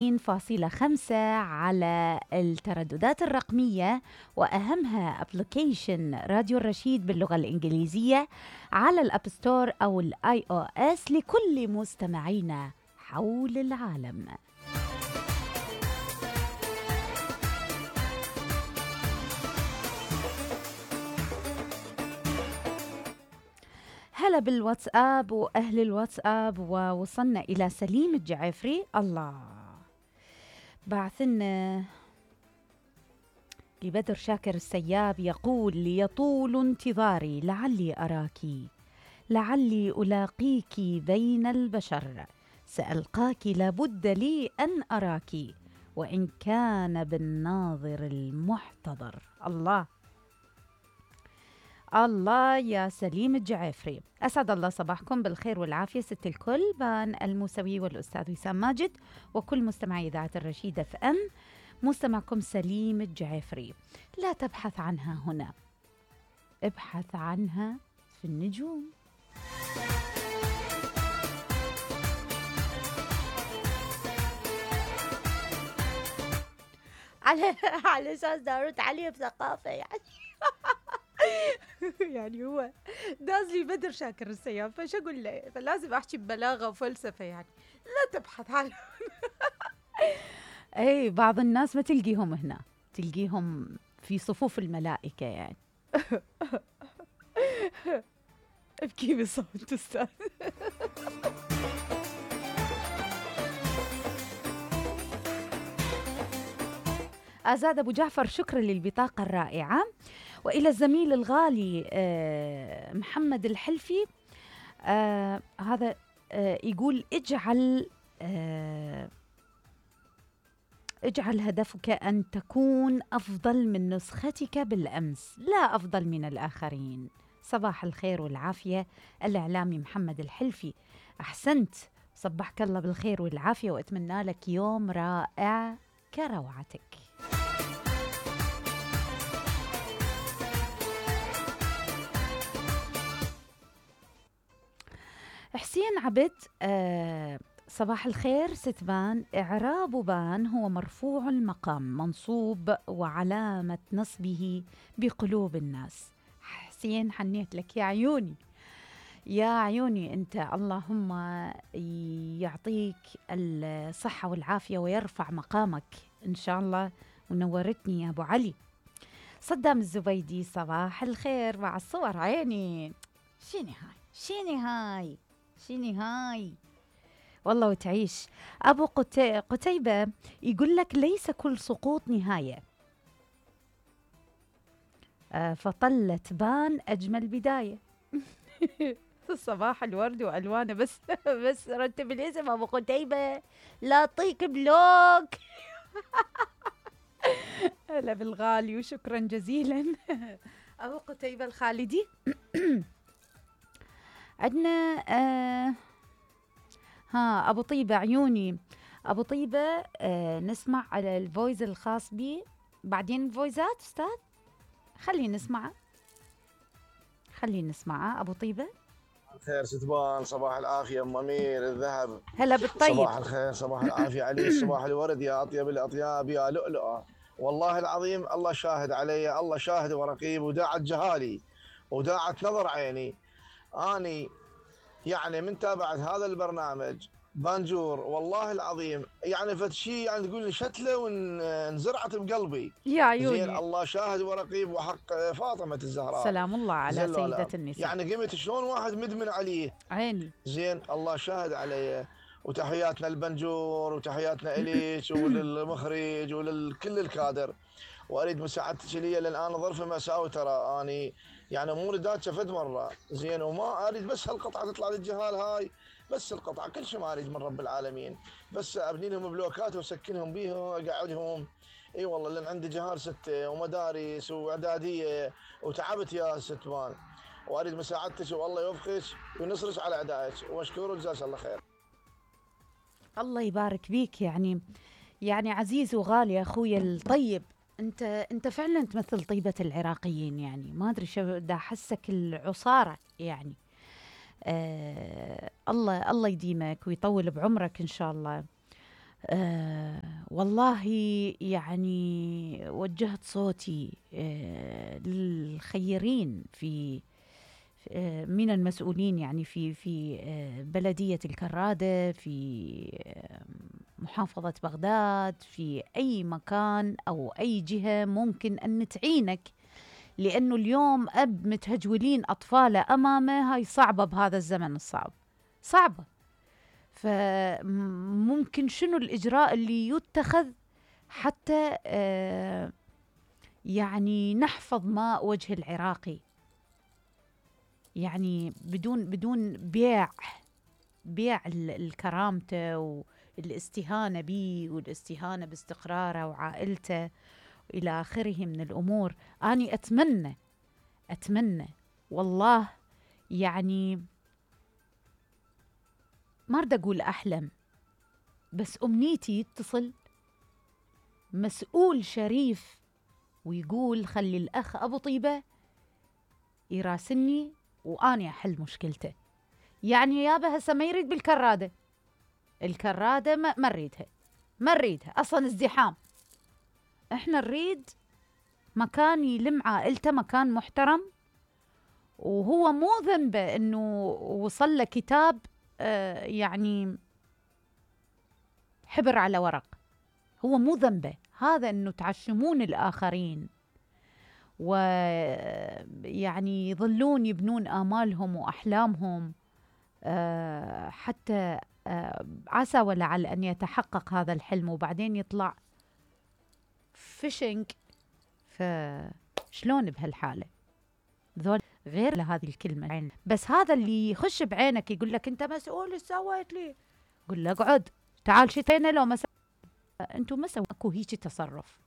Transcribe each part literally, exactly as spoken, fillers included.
فاصلة خمسة على الترددات الرقمية، وأهمها أبليكيشن راديو الرشيد باللغة الإنجليزية على الأب ستور أو الآي أو إس لكل مستمعينا حول العالم. هلا بالواتساب وأهل الواتساب، ووصلنا إلى سليم الجعفري. الله بعثنا لبدر شاكر السياب يقول: ليطول انتظاري لعلي أراكِ، لعلي ألاقيك بين البشر، سألقاك لابد لي أن أراكِ، وإن كان بالناظر المحتضر. الله الله يا سليم الجعفري، أسعد الله صباحكم بالخير والعافية ست الكل، بان الموسوي والأستاذ وسام ماجد وكل مستمعي إذاعة الرشيد اف ام. مستمعكم سليم الجعفري. لا تبحث عنها هنا، ابحث عنها في النجوم. على على أساس دارت عليه بثقافة يعني. يعني هو داز لي بدر شاكر السياب، فش أقول له؟ فلازم أحكي ببلاغة وفلسفة يعني. لا تبحث عنه. أي بعض الناس ما تلقيهم هنا، تلقيهم في صفوف الملائكة يعني. ابكي بصوت أستاذ. أزاد أبو جعفر، شكرا للبطاقة الرائعة. وإلى الزميل الغالي محمد الحلفي، آه هذا آه يقول: اجعل آه اجعل هدفك أن تكون أفضل من نسختك بالأمس، لا أفضل من الآخرين. صباح الخير والعافية الإعلامي محمد الحلفي، أحسنت، صبحك الله بالخير والعافية، وأتمنى لك يوم رائع كروعتك. حسين عبد، آه صباح الخير ست بان، إعراب بان هو مرفوع المقام منصوب وعلامة نصبه بقلوب الناس. حسين حنيت لك يا عيوني يا عيوني أنت، اللهم يعطيك الصحة والعافية ويرفع مقامك إن شاء الله، ونورتني يا أبو علي. صدام الزبيدي، صباح الخير مع الصور عيني. شيني هاي شيني هاي شيني هاي والله وتعيش. أبو قتي... قتيبة يقول لك: ليس كل سقوط نهاية، آه فطلة بان أجمل بداية. صباح الورد وألوانه، بس بس رتب الاسم أبو قتيبة لا أعطيك بلوك. هلا بالغالي وشكرا جزيلا. أبو قتيبة الخالدي. عندنا آه ها أبو طيبة عيوني، أبو طيبة آه نسمع على الفويس الخاص بي بعدين. الفويزات أستاذ خلي نسمعه خلي نسمعه أبو طيبة. خير ستبان، صباح العافية أم أمير الذهب. هلا بالطيب. صباح الخير، صباح العافية علي، صباح الورد يا أطيب الأطياب يا لؤلؤة. والله العظيم الله شاهد علي، الله شاهد ورقيب، وداعت جهالي وداعت نظر عيني. أني يعني من تابعت هذا البرنامج بانجور والله العظيم، يعني فتشي يعني تقول لي شتله وانزرعت بقلبي يا عيوني. زين الله شاهد ورقيب، وحق فاطمة الزهراء سلام الله على سيدة النساء. يعني قمت شلون واحد مدمن عليه عيني زين الله شاهد علي. وتحياتنا البنجور وتحياتنا إليش وللمخرج ولكل الكادر. واريد مساعدتك لي، لان انا ظرف مأساوي ترى، اني يعني اموري داتشه فد مره زين، وما اريد بس هالقطعه تطلع للجهال هاي، بس القطعه كل شيء ما اريد من رب العالمين، بس ابني لهم بلوكات واسكنهم بيها واقعدهم. اي والله لان عندي جهال سته ومدارس واعداديه وتعبت يا ست مان، واريد مساعدتك والله يوفقك وينصرك على اعدائك، واشكره وجزاك الله خير. الله يبارك بيك، يعني يعني عزيز وغالي اخوي الطيب، انت انت فعلا تمثل طيبة العراقيين، يعني ما ادري شو دا احسك العصارة يعني. آه الله الله يديمك ويطول بعمرك ان شاء الله. آه والله يعني وجهت صوتي آه للخيرين في آه من المسؤولين، يعني في في آه بلدية الكرادة، في آه محافظة بغداد، في أي مكان أو أي جهة ممكن أن تعينك، لأنه اليوم أب متهجولين أطفاله أمامه، هاي صعبة بهذا الزمن الصعب، صعبة. فممكن شنو الإجراء اللي يتخذ حتى آه يعني نحفظ ماء وجه العراقي، يعني بدون بدون بيع بيع الكرامته والاستهانة به والاستهانة باستقراره وعائلته إلى آخره من الأمور. أني أتمنى أتمنى والله، يعني ما أريد أقول أحلم، بس أمنيتي يتصل مسؤول شريف ويقول خلي الأخ أبو طيبة يراسلني وأني أحل مشكلته. يعني يابا هسه ما يريد بالكرادة، الكرادة ما نريدها، ما نريدها أصلا ازدحام. احنا نريد مكان يلم عائلته، مكان محترم، وهو مو ذنبه انه وصل له كتاب آه يعني حبر على ورق، هو مو ذنبه هذا انه تعشمون الاخرين ويعني يظلون يبنون آمالهم وأحلامهم آه حتى آه عسى ولعل أن يتحقق هذا الحلم، وبعدين يطلع فيشنج. فشلون بهالحالة؟ ذول غير لهذه الكلمة، بس هذا اللي يخش بعينك يقول لك أنت مسؤول، ايش سويت لي؟ قل له اقعد، تعال شتينا لو ما أنتم ما سووا اكو هيك تصرف.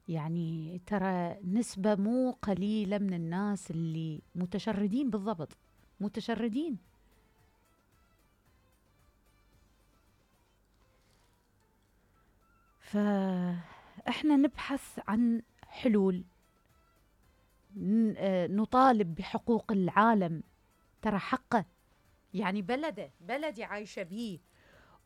يعني ترى نسبة مو قليلة من الناس اللي متشردين، بالضبط متشردين. فإحنا نبحث عن حلول، نطالب بحقوق العالم، ترى حقه، يعني بلده بلدي عايشة بيه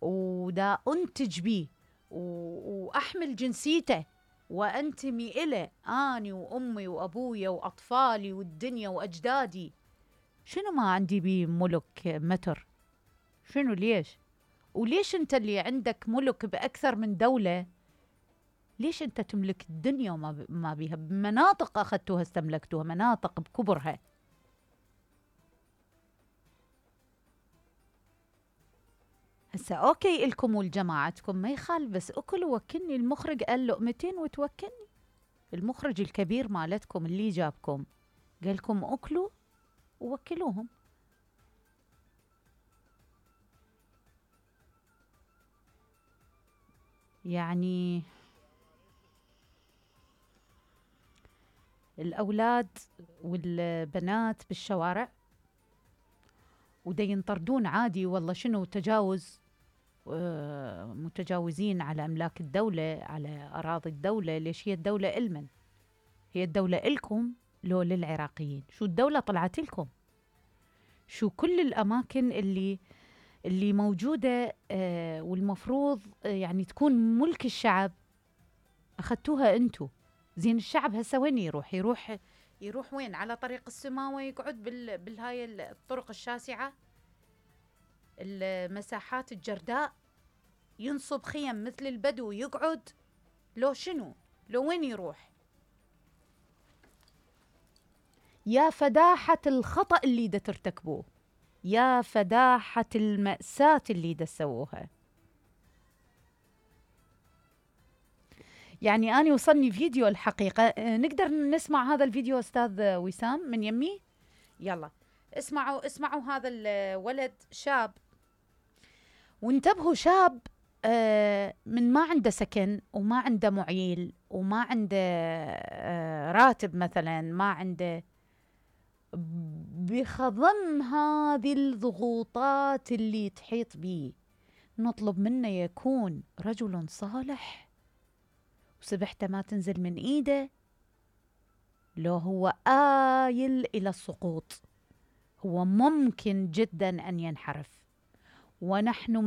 ودا أنتج بيه وأحمل جنسيته وأنتمي إليه، أني وأمي وأبويا وأطفالي والدنيا وأجدادي. شنو ما عندي بيه ملك متر؟ شنو ليش؟ وليش أنت اللي عندك ملك بأكثر من دولة، ليش أنت تملك الدنيا وما ما بيها مناطق أخذتوها استملكتوها، مناطق بكبرها؟ هسا أوكي إلكم ولجماعتكم ما يخالف، بس أكل وكلني. المخرج قال لقمتين وتوكلني، المخرج الكبير مالتكم اللي جابكم قال لكم أكلوا ووكلوهم. يعني الأولاد والبنات بالشوارع ودا ينطردون عادي، والله شنو تجاوز، متجاوزين على أملاك الدولة، على أراضي الدولة. ليش هي الدولة إلمن؟ هي الدولة إلكم لو للعراقيين؟ شو الدولة طلعت لكم؟ شو كل الأماكن اللي اللي موجودة آه والمفروض آه يعني تكون ملك الشعب أخذتوها أنتو. زين الشعب هسه وين يروح؟ يروح يروح وين؟ على طريق السماوة يقعد بال بالهاي الطرق الشاسعة، المساحات الجرداء، ينصب خيم مثل البدو يقعد؟ لو شنو؟ لو وين يروح؟ يا فداحة الخطأ اللي دا ترتكبوه، يا فداحة المأساة اللي دا تسووها. يعني أنا وصلني فيديو الحقيقة، نقدر نسمع هذا الفيديو أستاذ وسام من يمي؟ يلا اسمعوا اسمعوا هذا الولد شاب، وانتبهوا شاب آه من ما عنده سكن وما عنده معيل وما عنده آه راتب مثلا، ما عنده، بخضم هذه الضغوطات اللي تحيط به نطلب منه يكون رجل صالح وسبحته ما تنزل من ايده. لو هو آيل إلى السقوط هو ممكن جدا أن ينحرف، ونحن